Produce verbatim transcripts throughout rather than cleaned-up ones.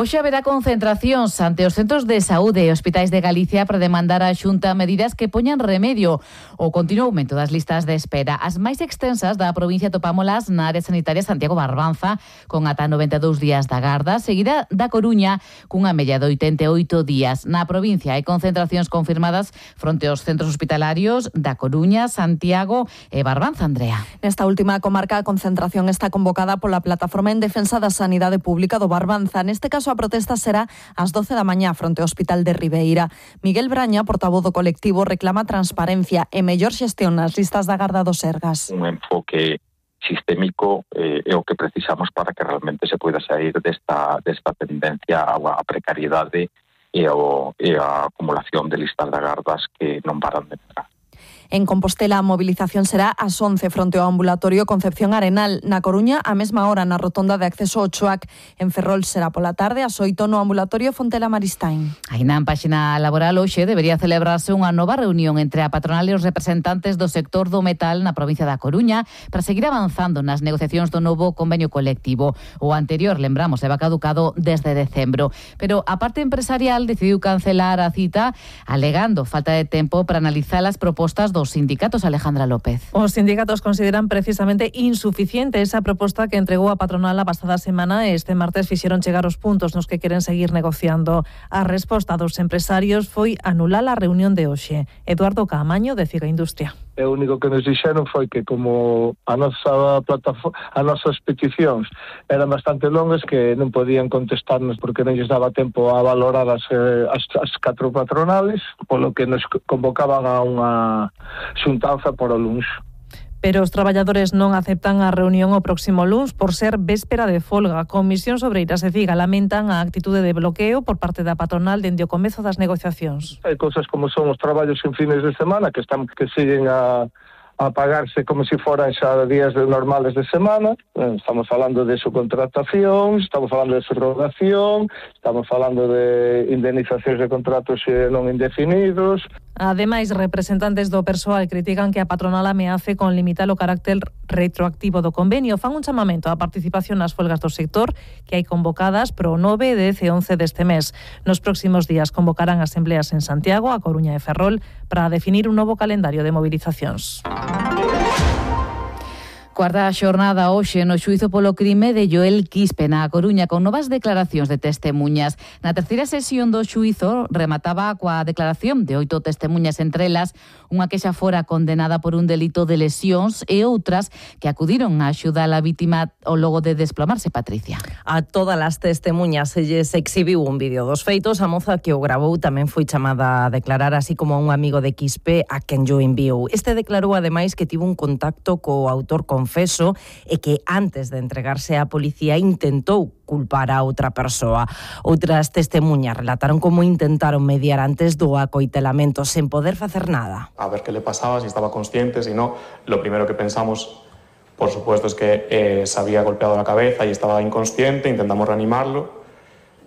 Hoxe haberá concentracións ante os centros de saúde e hospitais de Galicia para demandar á Xunta medidas que poñan remedio ao continuo aumento das listas de espera. As máis extensas da provincia topámolas na área sanitaria Santiago Barbanza, con ata noventa e dous días da garda, seguida da Coruña, cunha media de oitenta e oito días. Na provincia hai concentracións confirmadas fronte aos centros hospitalarios da Coruña, Santiago e Barbanza, Andrea. Nesta última comarca a concentración está convocada pola Plataforma en Defensa da Sanidade Pública do Barbanza. Neste caso a protesta será ás doce da mañá fronte ao Hospital de Ribeira. Miguel Braña, portavoz do colectivo, reclama transparencia e mellor xestión nas listas da garda do Sergas. Un enfoque sistémico eh, é o que precisamos para que realmente se poida sair desta, desta tendencia á precariedade e, ao, e a acumulación de listas de gardas que non paran de entrar. En Compostela a movilización será ás once fronte ao ambulatorio Concepción Arenal. Na Coruña, a mesma hora na rotonda de acceso ao Choac. En Ferrol será pola tarde ás oito no ambulatorio Fontela Maristain. Aí na páxina laboral hoxe debería celebrarse unha nova reunión entre a patronal e os representantes do sector do metal na provincia da Coruña para seguir avanzando nas negociacións do novo convenio colectivo. O anterior, lembramos, leva caducado desde decembro. Pero a parte empresarial decidiu cancelar a cita alegando falta de tempo para analizar as propostas do Os sindicatos, Alejandra López. Os sindicatos consideran precisamente insuficiente esa proposta que entregou a patronal a pasada semana e este martes fixeron chegar os puntos nos que queren seguir negociando. A resposta dos empresarios foi anular a reunión de hoxe. Eduardo Caamaño, de Figa Industria. E o único que nos dixeron foi que como a nosa plataforma, as nosas peticións eran bastante longas, que non podían contestarnos porque non lles daba tempo a valorar as, as, as catro patronales, polo que nos convocaban a unha xuntanza por o luns. Pero os traballadores non aceptan a reunión o próximo luns por ser véspera de folga. Comisións Obreiras e Figa lamentan a actitude de bloqueo por parte da patronal dende o comezo das negociacións. Hai cousas como son os traballos en fines de semana que están que siguen a a pagarse como se si foran xa días de normales de semana. Estamos falando de subcontratación, estamos falando de subrogación, estamos falando de indemnizacións de contratos non indefinidos. Ademais, representantes do persoal critican que a patronal ameace con limitar o carácter retroactivo do convenio. Fan un chamamento á participación nas folgas do sector que hai convocadas pro nove, dez e once deste mes. Nos próximos días convocarán asembleas en Santiago, A Coruña e Ferrol para definir un novo calendario de movilizacións. Cuarta xornada hoxe no xuízo polo crime de Joel Quispe na Coruña con novas declaracións de testemuñas. Na terceira sesión do xuízo remataba coa declaración de oito testemuñas, entre elas unha que xa fora condenada por un delito de lesións e outras que acudiron a axudar a vítima ao logo de desplomarse, Patricia. A todas as testemuñas se lles exhibiu un vídeo dos feitos. A moza que o grabou tamén foi chamada a declarar, así como un amigo de Quispe a quen yo enviou. Este declarou ademais que tivo un contacto co autor confeso e que antes de entregarse á policía intentou culpar a outra persoa. Outras testemuñas relataron como intentaron mediar antes do acoitelamento sen poder facer nada. A ver qué le pasaba, si estaba consciente, si no. Lo primero que pensamos, por supuesto, es que eh, se había golpeado la cabeza y estaba inconsciente. Intentamos reanimarlo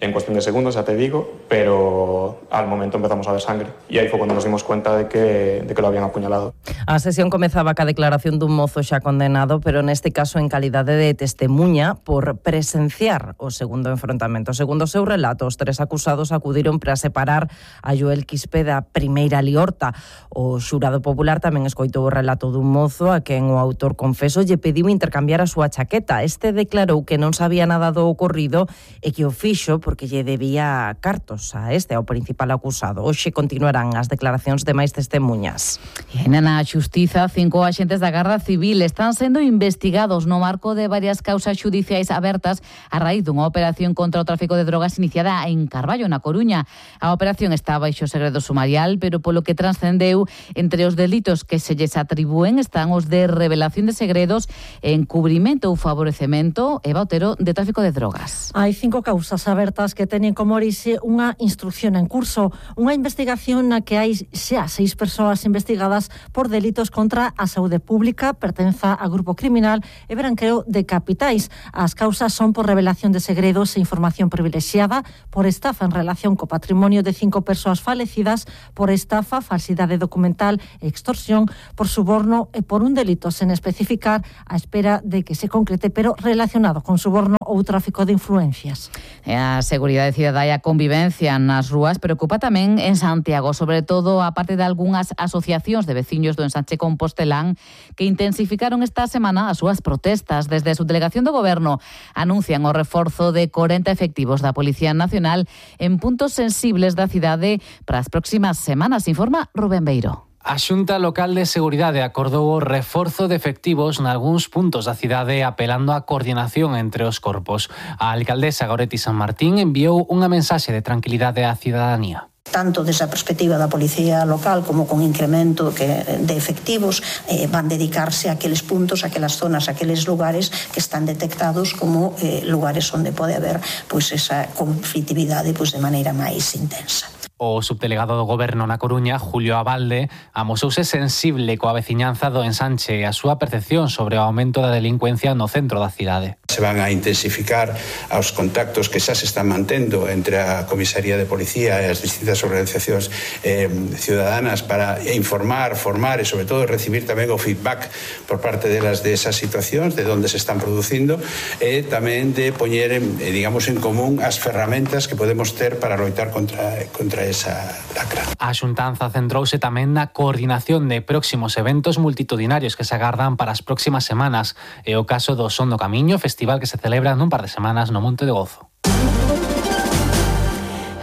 en cuestión de segundos, ya te digo, pero al momento empezamos a ver sangre. Y ahí fue cuando nos dimos cuenta de que, de que lo habían apuñalado. A sesión comezaba ca declaración dun mozo xa condenado, pero neste caso en calidade de testemuña por presenciar o segundo enfrontamento. Segundo o seu relato, os tres acusados acudiron para separar a Joel Quispe da primeira liorta. O xurado popular tamén escoitou o relato dun mozo a quen o autor confeso lle pediu intercambiar a súa chaqueta. Este declarou que non sabía nada do ocorrido e que o fixo porque lle debía cartos a este, ao principal acusado. Hoxe continuarán as declaracións de máis testemuñas. E na Xustiza, cinco axentes da Garda Civil están sendo investigados no marco de varias causas xudiciais abertas a raíz dunha operación contra o tráfico de drogas iniciada en Carballo, na Coruña. A operación está baixo segredo sumarial, pero polo que transcendeu, entre os delitos que se lles atribúen están os de revelación de segredos, encubrimento ou favorecemento e Otero de tráfico de drogas. Hai cinco causas abertas que teñen como orixe unha instrucción en curso, unha investigación na que hai xa seis persoas investigadas por delitos contra a saúde pública, pertenza a grupo criminal e branqueo de capitais. As causas son por revelación de segredos e información privilexiada, por estafa en relación co patrimonio de cinco persoas falecidas, por estafa, falsidade documental e extorsión, por suborno e por un delito sen especificar a espera de que se concrete, pero relacionado con suborno ou tráfico de influencias. As seguridade cidadá e a convivencia nas rúas preocupa tamén en Santiago, sobre todo a parte de algunhas asociacións de veciños do ensanche compostelán que intensificaron esta semana as súas protestas. Desde a subdelegación do Goberno anuncian o reforzo de corenta efectivos da Policía Nacional en puntos sensibles da cidade para as próximas semanas, informa Rubén Beiro. A Xunta Local de Seguridade acordou o reforzo de efectivos nalgúns puntos da cidade apelando á coordinación entre os corpos. A alcaldesa Goretti San Martín enviou unha mensaxe de tranquilidade á cidadanía. Tanto desde a perspectiva da Policía Local como con incremento que, de efectivos eh, van dedicarse a aqueles puntos, a aquelas zonas, a aqueles lugares que están detectados como eh, lugares onde pode haber pois, esa conflitividade pois, de maneira máis intensa. O subdelegado do Goberno na Coruña, Julio Abalde, amosouse sensible coa veciñanza do ensanche e a súa percepción sobre o aumento da delincuencia no centro da cidade. Se van a intensificar os contactos que xa se están mantendo entre a Comisaría de Policía e as distintas organizacións eh, ciudadanas para informar, formar e sobre todo recibir tamén o feedback por parte delas de esas situacións, de onde se están producindo e tamén de poñer, eh, digamos, en común as ferramentas que podemos ter para loitar contra, contra esa lacra. A xuntanza centrouse tamén na coordinación de próximos eventos multitudinarios que se agardan para as próximas semanas. É o caso do Son do Camiño, festival que se celebra nun par de semanas no Monte de Gozo.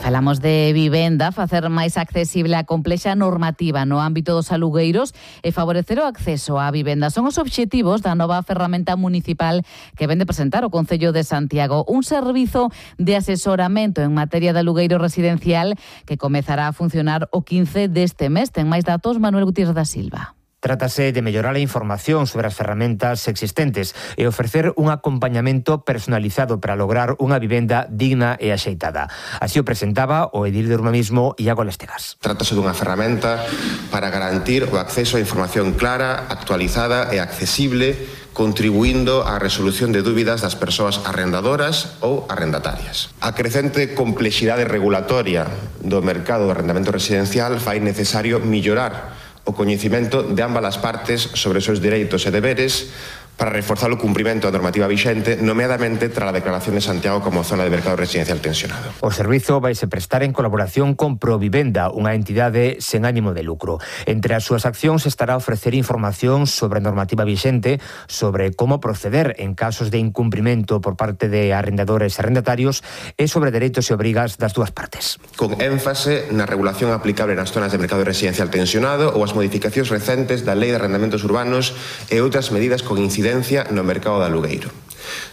Falamos de vivenda, facer máis accesible a complexa normativa no ámbito dos alugueiros e favorecer o acceso á vivenda. Son os obxectivos da nova ferramenta municipal que vende presentar o Concello de Santiago, un servizo de asesoramento en materia de alugueiro residencial que comezará a funcionar o quince deste mes. Ten máis datos Manuel Gutiérrez da Silva. Trátase de mellorar a información sobre as ferramentas existentes e ofrecer un acompañamento personalizado para lograr unha vivenda digna e axeitada. Así o presentaba o edil de urbanismo Iago Lestegas. Trátase dunha ferramenta para garantir o acceso a información clara, actualizada e accesible, contribuindo á resolución de dúbidas das persoas arrendadoras ou arrendatarias. A crecente complexidade regulatoria do mercado do arrendamento residencial fai necesario mellorar o coñecimento de ambas as partes sobre os seus dereitos e deberes para reforzar o cumprimento da normativa vixente, nomeadamente tras a declaración de Santiago como zona de mercado residencial tensionado. O servizo vaise prestar en colaboración con Provivenda, unha entidade sen ánimo de lucro. Entre as súas accións estará a ofrecer información sobre a normativa vixente, sobre como proceder en casos de incumprimento por parte de arrendadores e arrendatarios e sobre dereitos e obrigas das dúas partes. Con énfase na regulación aplicable nas zonas de mercado residencial tensionado ou as modificacións recentes da Lei de Arrendamentos Urbanos e outras medidas con incidencia no mercado de alugueiro.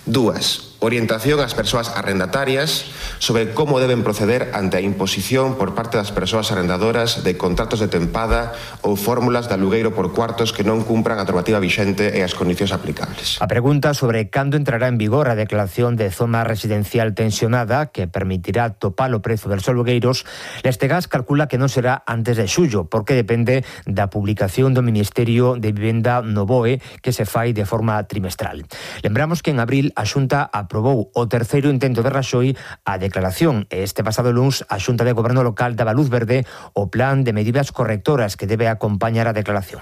Dúas, orientación ás persoas arrendatarias sobre como deben proceder ante a imposición por parte das persoas arrendadoras de contratos de tempada ou fórmulas de alugueiro por cuartos que non cumpran a normativa vixente e as condicións aplicables. A pregunta sobre cando entrará en vigor a declaración de zona residencial tensionada que permitirá topar o prezo dos alugueiros, Lestegas calcula que non será antes de xullo, porque depende da publicación do Ministerio de Vivenda no B O E que se fai de forma trimestral. Lembramos que en abril a Xunta aprobou o terceiro intento de Raxoi a declaración e este pasado luns a Xunta de Goberno Local daba luz verde o plan de medidas correctoras que debe acompañar a declaración.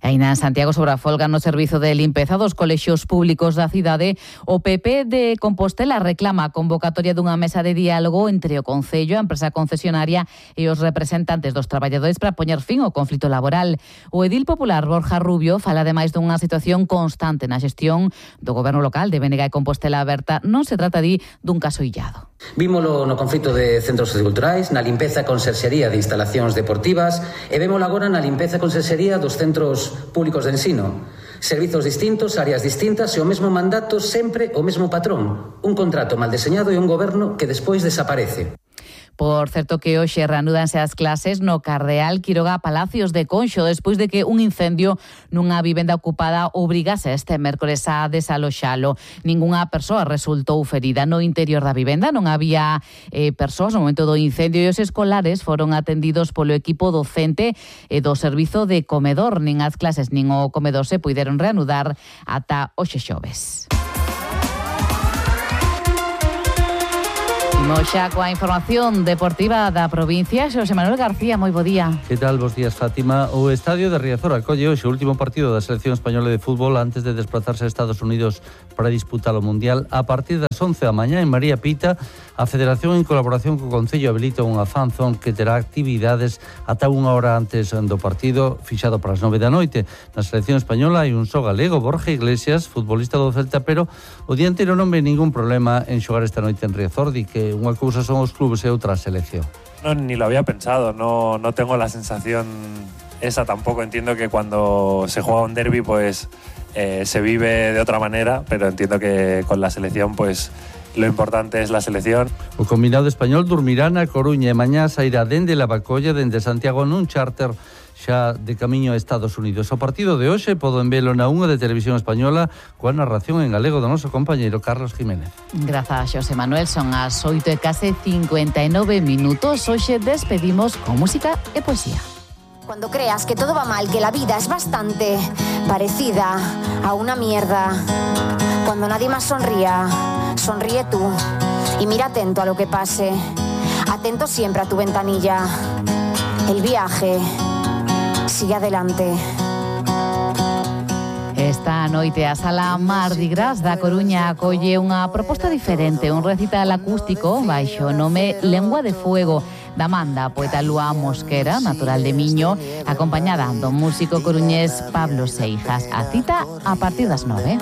Aínda en Santiago, sobre a folga no servizo de limpeza dos colexios públicos da cidade, o P P de Compostela reclama a convocatoria dunha mesa de diálogo entre o Concello, a empresa concesionaria e os representantes dos traballadores para poñer fin ao conflito laboral. O edil popular Borja Rubio fala ademais dunha situación constante na xestión do goberno local de Bénega e Compostela Aberta. Non se trata, di, dun caso illado. Vímolo no conflito de centros socioculturais, na limpeza e conserxería de instalacións deportivas e vémolo agora na limpeza e conserxería dos centros públicos de ensino. Servizos distintos, áreas distintas e o mesmo mandato, sempre o mesmo patrón. Un contrato mal deseñado e un goberno que despois desaparece. Por certo que hoxe reanúdanse as clases no Cardeal Quiroga Palacios de Conxo despois de que un incendio nunha vivenda ocupada obrigase este mércores a desaloxalo. Ningunha persoa resultou ferida no interior da vivenda, non había eh, persoas no momento do incendio e os escolares foron atendidos polo equipo docente e do servizo de comedor. Nin as clases nin o comedor se puideron reanudar ata hoxe xoves. Imos xa coa información deportiva da provincia. Xosé Manuel García, moi bo día. Que tal, bos días, Fátima. O estadio de Riazor acolle hoxe o último partido da selección española de fútbol antes de desplazarse a Estados Unidos para disputar o Mundial. A partir das once da mañá en María Pita, a Federación en colaboración co Concello habilita unha fanzón que terá actividades ata unha hora antes do partido, fixado para as nove da noite. Na selección española hai un só galego, Borja Iglesias, futbolista do Celta, pero o dianteiro non ve ningún problema en xogar esta noite en Riazor, di que unha cousa son os clubes e outra a selección. No, ni lo había pensado, no, no tengo la sensación esa tampoco. Entiendo que cuando se juega un derbi pues eh, se vive de otra manera, pero entiendo que con la selección pues lo importante es la selección. O combinado español dormirá na Coruña e mañá sairá dende Lavacolla, dende Santiago nun charter xa de camiño a Estados Unidos. O partido de hoxe poden velo na unha de Televisión Española coa narración en galego do noso compañeiro Carlos Jiménez. Grazas, Xosé Manuel. Son as oito e case cincuenta e nove minutos. Hoxe despedimos con música e poesía. Cuando creas que todo va mal, que la vida es bastante parecida a una mierda. Cuando nadie más sonría, sonríe tú y mira atento a lo que pase. Atento siempre a tu ventanilla. El viaje sigue adelante. Esta noite a Sala Mardi Gras da Coruña acolle unha proposta diferente, un recital acústico baixo o nome Lengua de Fuego da manda poeta Lúa Mosquera, natural de Miño, acompañada do músico coruñés Pablo Seijas. A cita a partir das nove.